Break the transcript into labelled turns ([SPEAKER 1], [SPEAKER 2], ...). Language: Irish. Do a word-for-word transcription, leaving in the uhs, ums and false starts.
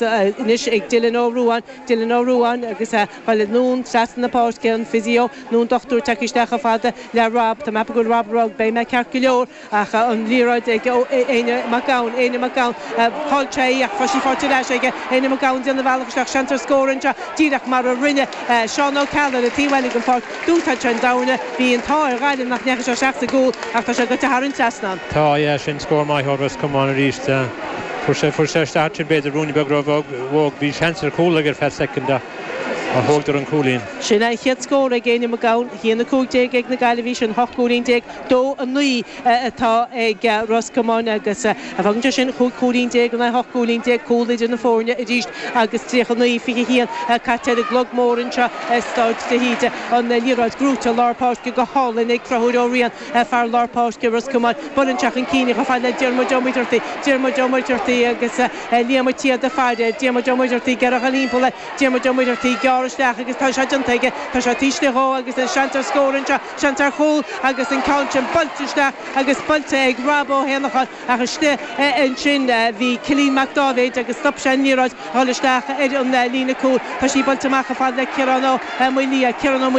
[SPEAKER 1] Anois ag Dylan Ó Ruáin, Dylan Ó Ruáin agus baile anonn trasna na páirce, an physio nó an dochtúir tagtha isteach chomh fada le Rob. Tá mé ag ceapadh go bhfuil Rob rug, beidh mé ceart go leor ach an liathróid ag Éanna Mac Gabhann, Éanna Mac Gabhann, chaill sé í ach tá sí faighte ar ais aige, Éanna Mac Gabhann déanamh a bhealach isteach, seans ar scór anseo díreach mar a rinne Seán Ó Ceallaigh ar an taobh eile den pháirc. D'úsáid sé an damhna, bhí an t-ádh ar Ghaillimh nach ndeachaigh sé isteach sa gcúl ach tá sé gaibhte thar an trasnán.
[SPEAKER 2] Tá, yeah, sin scór maith ó Ros Comáin arís. Fuair sé fuair sé isteach sin b'fhéidir ruainne beag rómhór, bhí seans ar chúl aige ar feadh soicind ach thógadar an cúilín.
[SPEAKER 1] Sin é an chéad scór ag Éanna Mac Gabhann, a haon a cúig déag ag na Gaillimhigh, sin hocht gcúilín déag, dó a naoi atá ag Ros Comáin agus fágann sé sin chúig chúilín déag in aghaidh hocht gcúilín déag, cúl idir na foirne arís agus tríocha naoi, fiche haon caite ar an gclog mór anseo i Staid de hÍde. An liathróid gnóite lár páirce go hálainn ag Conchúr Ó Riain, fear lár páirce Ros Comáin. Buaileann sé chun cinn chomh fada le Diarmuid Ó Muircheartaigh, Diarmuid Ó Muircheartaigh agus Liam Ó Tiada faire air, Diarmuid Ó Muircheartaigh ag iarraidh a dhul thimpeall air, Diarmuid Ó Muircheartaigh gearr isteach agus tá sé déanta aige, tá sé taobh istigh dhó agus an seans ar scór anseo, seans ar chúl agus an ceann sin buailte isteach agus buailte ag Rob Ó hÉanacháin ach istigh ansin bhí Cillian Mac Dáibhéid agus stop sé an liathróid a dhul isteach ar an líne cúil. Tá sí buailte amach chomh fada le Ciarán Ó Maoildhia, Ciarán Ó Maoildhia.